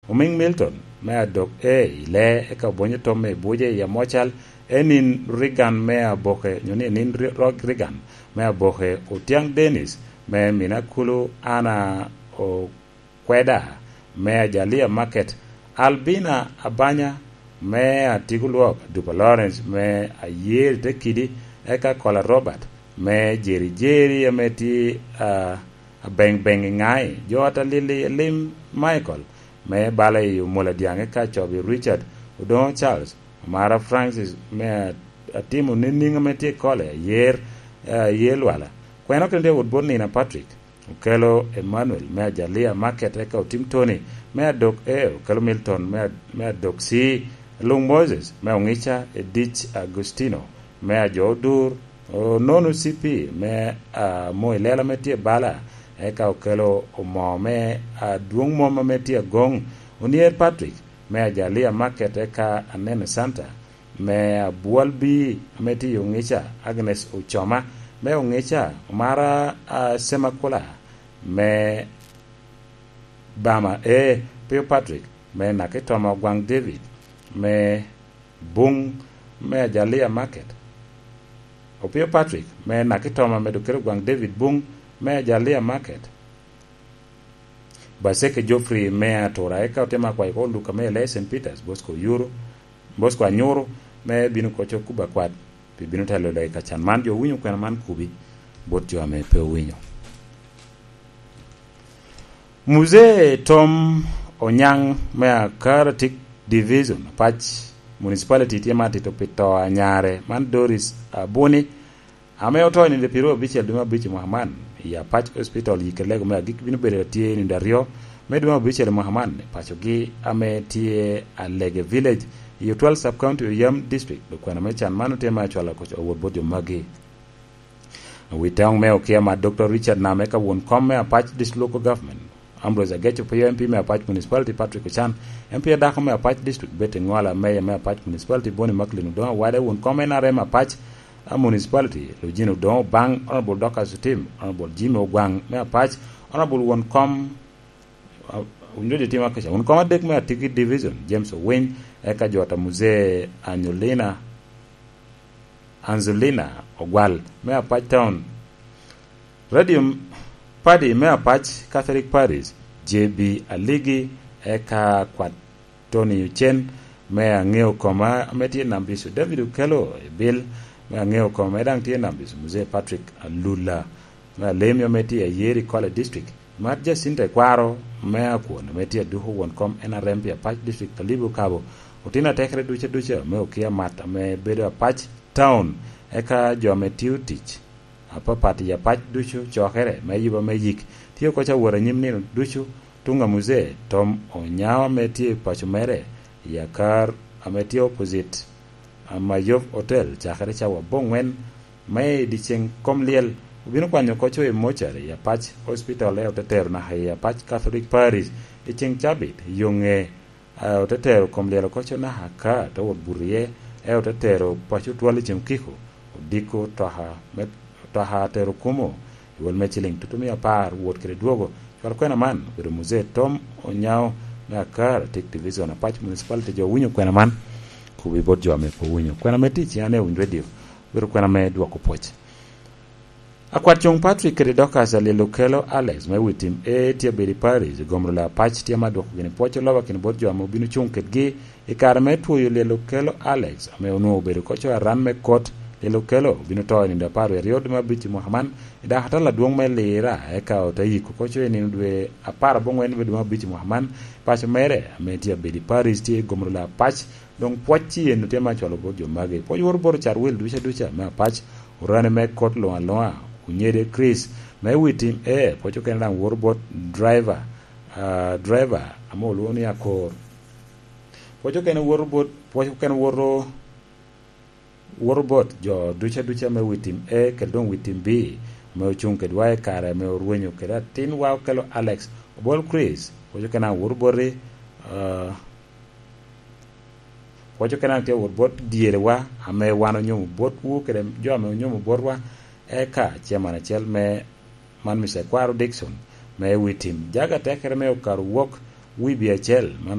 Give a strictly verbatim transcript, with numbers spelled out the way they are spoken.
Omiŋ Milton me adok A i lee, eka obonyo tom me buce i amocal, Enin Reagan me aboke, nyo ni Enin Ri-, Rog Reagan me aboke, Otiaŋ Dennis me Minakulu, Anna Okweda me Ajalia Market, Albina Abanya me Atigo Lwok, Dupa Lawrence me Ayer i te kidi, eka Kola Robert me Jeri Jeri ame tye, ah, abeŋ beŋ i ŋai, jo ata Lili Elim Michael me bala i Omola Dyaŋ, eka Cobi Richard Odoŋo Charles, Omara Francis me a-, atimo niniŋ ame tye i Kole, Ayer, eh, Ayer Lwala. Kweno kene tye wot bot Nina Patrick, Okelo Emmanuel me Ajalia Market, eka Otim Tony me Adok A, Okelo Milton me Ad-, me Adok C, Luŋ Moses me Oŋica, Edic Agustino me Ajo Odur, Onono C P me, ah, Moi Lela ame tye bala, eka Okelo Omo me Adwoŋ Mom ame tye Agoŋ, Onier Patrick me Ajalia Market, eka Anene Santa me Abwal B ame tye i Oŋica, Agnes Ocoma me Oŋica, Omara, ah, Semakula me Bama A, Pio Patrick me Nakitoma, Ogwaŋ David me Buŋ me Ajalia Market, Opio Patrick me Nakitoma me Dr. Ogwaŋ David Buŋ me Ajalia Market, Baseke Geoffrey me Atura, eka otemo akwayo oko Luka me Lee Saint Peters, Bosco Oyuru, Bosco Anyuru, me bino koco kuba kwat, pi bino telo lega i kacan man. Jo owinyo kwena man kubi bot jo ame pe owinyo. Muzee Tom Onyaŋ me Akaratik Division, Apac Municipality, tye ma atito pi to a nyare man, Doris Abuni, ame oto i nino pyeraryo abicel dwe me abicel mwaka man, i Apac Hospital, yikke lego me agik bino bedo atye i nino aryo me dwe me abicel mwaka man, i pacogi ame tye Alege Village, i Otwal Sub-County, Oyam District. Okwena me can man otye me acwalo koc awot bot jo magi. Wi toŋ me okia ma Doctor Richard Name ka won kom me Apac District Local Government, Ambrose Ageco Pio, M P me Apac Municipality, Patrick Ochan, M P adako me Apac District, Betty Ngola, Mayor me Apac Municipality, Bonnie Macklin Odongo Awade, won kom N R M Apac, a, Municipality, Lujin Odongo Bang, Honorable Dorcas Otim, Honorable Jimmy Ogwang me Apac, Honorable won kom, a, winyo jo timo akaca, won kom adek me Atiki Division, James Owiny, eka jo ata Muzee Anyolina, Anzolina Ogwal me Apac Town, Radio Padi me Apac Catholic Parish, J B Aligi, eka kwat Tony Ocen me Aŋeo Koma ame tye i Nambiso, David Okelo Ebil me Aŋeo Koma ame daŋ tye i Nambiso, Muzee Patrick Alula me Alemyo ame tye i Ayeri College District, Mat Jacinta Ekwaro me Akwon ame tye aduko won kom N R M pi Apac District Kalibo Kabo, otino atekere duca duca me okia mat ame bedo Apac Town, eka jo ame tio tic apapat i Apac ducu, cokere me yuba me yik, tye oko ca wot anyim nino ducu. Tuŋ a Muzee Tom Onyaŋ ame tye i paco mere i Akar ame tye opposite Amayov Hotel, cakere cawa aboŋwen me i dyeceŋ kom lyel, obino kwanyo koco i mochari i Apac Hospital, eo te tero naka i Apac Catholic Parish i ceŋ cabit i yo ŋe. A, ote tero kom lyel oko co naka ka te wot buto iye, ento ote tero paco twal i cem kiko, odiko toka me, toka tero kumo i wol me ciliŋ tutumia apar, wot kede dwogo. Cwalo kwena man obedo Muzee Tom Onyaŋ me Akar, Tik Division, Apac Municipality. Jo owinyo kwena man, kubi bot jo ame pe owinyo. Kwena me tic i Ane Winy Radio obedo kwena me dwoko pwoc. Akwat Cuŋ Patrick kede Dorcas Alil Okelo Alex me wi tim A tye abedo i Paris, i gomro la Apac tye ma dwoko gini pwoc oloba kini bot jo ame obino cuŋ kedgi i kare me twoyo Lil Okelo Alex, ame onwoŋo obedo koco aran me kot. Lil Okelo obino to i nino apar wie aryo dwe me abic i mwaka man, i dakatala adwoŋ me Lira, eka ote yiko koco i nino dwe apar aboŋwen me dwe me abic i mwaka man. Paco mere ame tye abedo i Paris tye i gomro la Apac, doŋ pwoc ci eno tye ma acwalo bot jo magi. Pwoc woro bot ocat wil duca duca me Apac, orani me kot luŋ aluŋa, Onyede Chris, me wi tim A, pwoc okene daŋ woro bot driver, ah, driver, ame olwoŋo ni Akor. Pwoc okene woro bot, pwoc okene woro, woro bot jo duca duca me wi tim A, kede doŋ wi tim B, ame ocuŋ kedwa i kare ame orwenyo kede atinwa Okelo Alex, Obol Chris, pwoc okene daŋ woro boti, ah, Pwoc okene daŋ tye wot bot dyerewa, ame wan onyomo botwu kede jo ame onyomo botwa, eka chairman acel me man, Mister Kwaro Dickson, me wi tim. Jaga tekere me okato wok wibi acel, man